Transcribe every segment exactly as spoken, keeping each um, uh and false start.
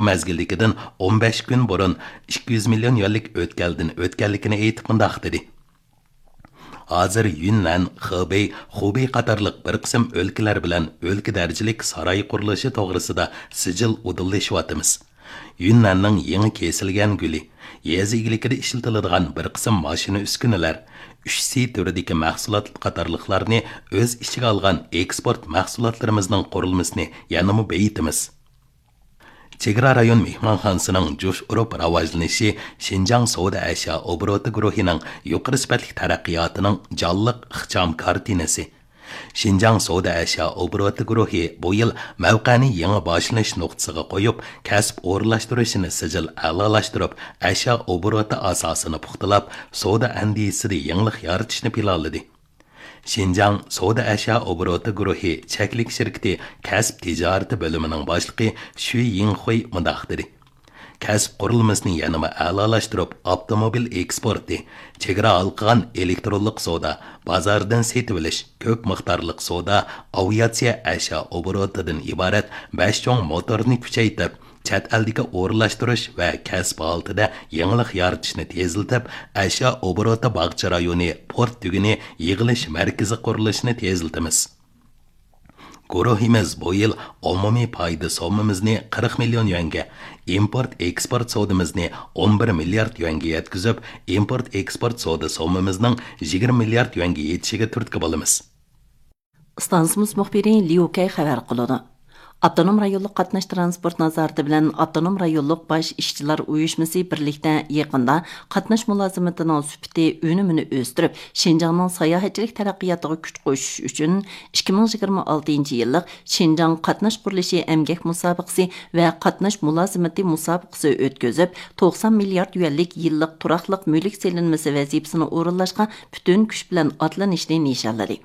مەزگىلدىكىدىن ئون بەش كۈن بۇرۇن ئىككى يۈز مىليون يۈەنلىك ئۆتكەلدىن ئۆتكەنلىكىنى ئېيتىپ مۇنداق دېدى: ھازىر يۈننەن، خېبېي، خۇبېي قاتارلىق بىر قىسىم ئۆلكىلەر بىلەن ئۆلكە دەرىجىلىك ساراي قۇرۇلۇشى توغرىسىدا سىجىل ئۇدۇللىشىۋاتىمىز. يۈننەننىڭ يېڭى كېسىلگەن گۈلى، يېزا ئىگىلىكىدە ئىشلىتىلىدىغان بىر قىسىم ماشىنا ئۈسكۈنىلەر، ئۈچ سى تۈرىدىكى مەھسۇلات قاتارلىقلارنى ئۆز ئىچىگە ئالغان ئېكسپورت مەھسۇلاتلىرىمىزنىڭ قۇرۇلمىسىنى يەنىمۇ بېيىتىمىز. چېگرا رايون مېھمانخانىسىنىڭ جۇش ئۇرۇپ راۋاجلىنىشى شىنجاڭ سودا ئەشيا ئوبوروتى گۇرۇھىنىڭ يۇقىرى سۈپەتلىك تەرەققىياتىنىڭ جانلىق ئىخچام كارتىنىسى. شىنجاڭ سودا ئەشيا ئوبوروتى گۇرۇھى بۇ يىل مەۋقەنى يېڭى باشلىنىش نۇقتىسىغا قويۇپ، كەسىپ ئورۇنلاشتۇرۇشىنى سىجىل ئەلالاشتۇرۇپ، ئەشيا ئوبوروتى ئاساسىنى پۇختىلاپ، سودا ئەندىزىسىدە يېڭىلىق يارىتىشنى پىلانلىدى. شىنجاڭ سودا ئەشيا ئوبوروتى گۇرۇھى چەكلىك شىركىتى كەسىپ تىجارىتى بۆلۈمىنىڭ باشلىقى شۈي يىڭخۇي مۇنداق دېدى: كەسىپ قۇرۇلمىسىنى يەنىمۇ ئەلالاشتۇرۇپ، ئاپتوموبىل ئېكسپورتى، چېگرا ھالقىغان ئېلېكترونلۇق سودا، بازاردىن سېتىۋېلىش، كۆپ مىقدارلىق سودا، ئاۋىئاتسىيە ئەشيا ئوبوروتىدىن ئىبارەت بەش چوڭ موتورنى كۈچەيتىپ، چەت ئەلدىكى ئورۇنلاشتۇرۇش ۋە كەسىپ ھالىتىدە يېڭىلىق يارىتىشنى تېزلىتىپ، ئەشيا ئوبوروتى باغچە رايونى پورت تۈگۈنى يىغىلىش مەركىزى قۇرۇلۇشىنى تېزلىتىمىز. گۇرۇھىمىز بۇ يىل ئومۇمىي پايدا سوممىمىزنى قىرىق مىليون يۈەنگە، ئىمپورت ئېكسپورت سودىمىزنى ئون بىر مىليارد يۈەنگە يەتكۈزۈپ، ئىمپورت ئېكسپورت سودا سوممىمىزنىڭ يىگىرمە مىليارد يۈەنگە يېتىشىگە تۈرتكە بولىمىز. ئىستانسىمىز مۇخبىرى ليۇ كەي خەۋەر قىلىدۇ. ئاپتونوم رايونلۇق قاتناش تىرانسپورت نازارىتى بىلەن ئاپتونوم رايونلۇق باش ئىشچىلار ئۇيۇشمىسى بىرلىكتە يېقىندا قاتناش مۇلازىمىتىنىڭ سۈپىتى، ئۈنۈمىنى ئۆستۈرۈپ، شىنجاڭنىڭ ساياھەتچىلىك تەرەققىياتىغا كۈچ قوشۇش ئۈچۈن ئىككى مىڭ يىگىرمە ئالتىنچى يىللىق شىنجاڭ قاتناش قۇرۇلۇشى ئەمگەك مۇسابىقىسى ۋە قاتناش مۇلازىمىتى مۇسابىقىسى ئۆتكۈزۈپ، توقسان مىليارد يۈەنلىك يىللىق تۇراقلىق مۈلۈك سېلىنمىسى ۋەزىپىسىنى ئورۇنلاشقا پۈتۈن كۈچ بىلەن ئاتلىنىشنى نىشانلىدى.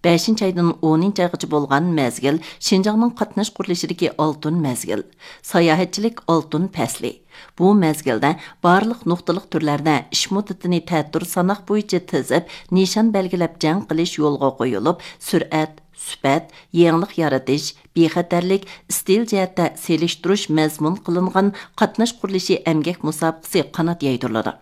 بەشىنچى ئايدىن ئونىنچى ئايغىچە بولغان مەزگىل شىنجاڭنىڭ قاتناش قۇرۇلۇشىدىكى ئالتۇن مەزگىل، ساياھەتچىلىك ئالتۇن پەسلى. بۇ مەزگىلدە بارلىق نۇقتىلىق تۈرلەردە ئىش مۇددىتىنى تەتۈر ساناق بويىچە تىزىپ، نىشان بەلگىلەپ جەڭ قىلىش يولغا قويۇلۇپ، سۈرئەت، سۈپەت، يېڭىلىق يارىتىش، بىخەتەرلىك، ئىستىل جەھەتتە سېلىشتۇرۇش مەزمۇن قىلىنغان قاتناش قۇرۇلۇشى ئەمگەك مۇسابىقىسى قانات يايدۇرۇلىدۇ.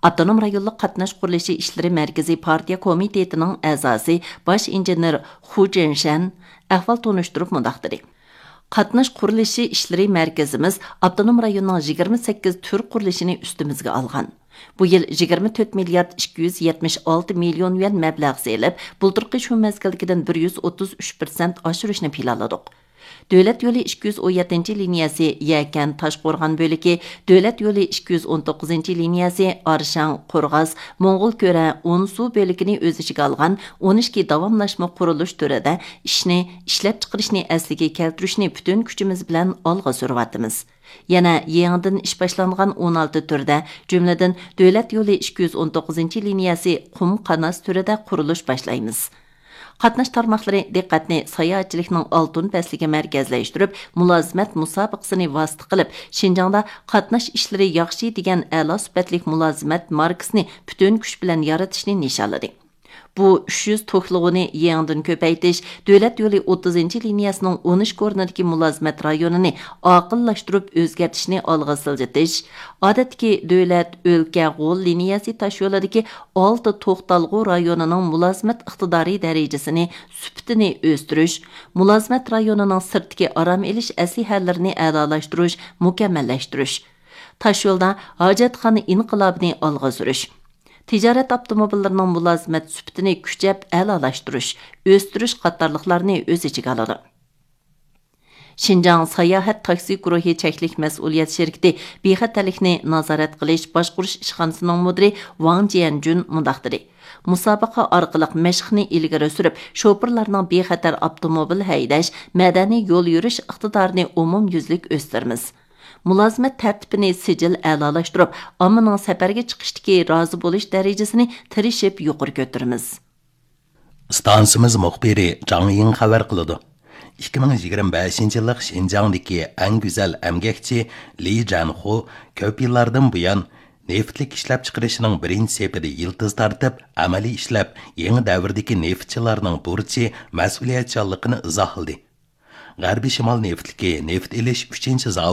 ئاپتونوم رايونلۇق قاتناش قۇرۇلۇشى ئىشلىرى مەركىزى پارتىيە كومىتېتىنىڭ ئەزاسى، باش ئىنژېنېر خۇ جېنشەن ئەھۋال تونۇشتۇرۇپ مۇنداق دېدى: قاتناش قۇرۇلۇشى ئىشلىرى مەركىزىمىز ئاپتونوم رايوننىڭ يىگىرمە سەككىز تۈر قۇرۇلۇشىنى ئۈستىمىزگە ئالغان. بۇ يىل يىگىرمە تۆت مىليارد ئىككى يۈز يەتمىش ئالتە مىليون يۈەن مەبلەغ سېلىپ، بۇلتۇرقى شۇ مەزگىلدىكىدىن بىر يۈز ئوتتۇز ئۈچ پىرسەنت ئاشۇرۇشنى پىلانلىدۇق. دۆلەت يولى ئىككى يۈز ئون يەتتىنچى لىنىيەسى يەكەن تاشقورغان بۆلىكى، دۆلەت يولى ئىككى يۈز ئون توققۇزىنچى لىنىيەسى ئارشاڭ قورغاس موڭغۇلكۆرە ئونسۇ بۆلىكىنى ئۆز ئىچىگە ئالغان ئون ئىككى داۋاملاشما قۇرۇلۇش تۈرىدە ئىشنى، ئىشلەپچىقىرىشنى ئەسلىگە كەلتۈرۈشنى پۈتۈن كۈچىمىز بىلەن ئالغا سۈرۈۋاتىمىز. يەنە يېڭىدىن ئىش باشلانغان ئون ئالتە تۈردە، جۈملىدىن دۆلەت يولى ئىككى يۈز ئون توققۇزىنچى لىنىيەسى قۇم قاناس تۈرىدە قۇرۇلۇش باشلايمىز. قاتناش تارماقلىرى دىققەتنى ساياھەتچىلىكنىڭ ئالتۇن پەسلىگە مەركەزلەشتۈرۈپ، مۇلازىمەت مۇسابىقىسىنى ۋاسىتە قىلىپ، شىنجاڭدا قاتناش ئىشلىرى ياخشى دېگەن ئەلا سۈپەتلىك مۇلازىمەت ماركىسىنى پۈتۈن كۈچ بىلەن يارىتىشنى نىشانلىدى. بۇ ئۈچ يۈز توكلىغۇنى يېڭىدىن كۆپەيتىش، دۆلەت يولى ئوتتۇزىنچى لىنىيەسىنىڭ ئون ئىككى ئورنىدىكى مۇلازىمەت رايونىنى ئاقىللاشتۇرۇپ ئۆزگەرتىشنى ئالغا سىلجىتىش، ئادەتتىكى دۆلەت، ئۆلكە، غول لىنىيەسى تاشيولىدىكى ئالتە توختالغۇ رايونىنىڭ مۇلازىمەت ئىقتىدارى دەرىجىسىنى، سۈپىتىنى ئۆستۈرۈش، مۇلازىمەت رايونىنىڭ سىرتتىكى ئارام ئېلىش ئەسلىھەلىرىنى ئەلالاشتۇرۇش، مۇكەممەللەشتۈرۈش، تاشيولدا ھاجەتخانا ئىنقىلابىنى ئالغا سۈرۈش، تىجارەت ئاپتوموبىللىرىنىڭ مۇلازىمەت سۈپىتىنى كۈچەپ ئەلالاشتۇرۇش، ئۆستۈرۈش قاتارلىقلارنى ئۆز ئىچىگە ئالىدۇ. شىنجاڭ ساياھەت تاكسى گۇرۇھى چەكلىك مەسئۇلىيەت شىركىتى بىخەتەرلىكنى نازارەت قىلىش باشقۇرۇش ئىشخانىسىنىڭ مۇدىرى ۋاڭ جيەنجۈن مۇنداق دېدى: مۇسابىقە ئارقىلىق مەشىقنى ئىلگىرى سۈرۈپ، شوپۇرلارنىڭ بىخەتەر ئاپتوموبىل ھەيدەش، مەدەنىي يول يۈرۈش ئىقتىدارىنى ئومۇميۈزلۈك ئۆستۈرىمىز. مۇلازىمەت تەرتىپىنى سىجىل ئەلالاشتۇرۇپ، ئاممىنىڭ سەپەرگە چىقىشتىكى رازى بولۇش دەرىجىسىنى تىرىشىپ يۇقىرى كۆتۈرىمىز. ئىستانسىمىز مۇخبىرى جاڭ يىڭ خەۋەر قىلىدۇ. ئىككى مىڭ يىگىرمە بەشىنچى يىللىق شىنجاڭدىكى ئەڭ گۈزەل ئەمگەكچى لى جەنخۇ كۆپ يىللاردىن بۇيان نېفىتلىك ئىشلەپچىقىرىشنىڭ بىرىنچى سېپىدە يىلتىز تارتىپ، ئەمەلىي ئىشلەپ، يېڭى دەۋردىكى نېفىتچىلارنىڭ بۇرچى، مەسئۇلىيەتچانلىقىنى ئىزاھلىدى. غەربىي شىمال نېفىتلىكى نېفىت ئېلىش ئۈچىنچى زاۋۇتى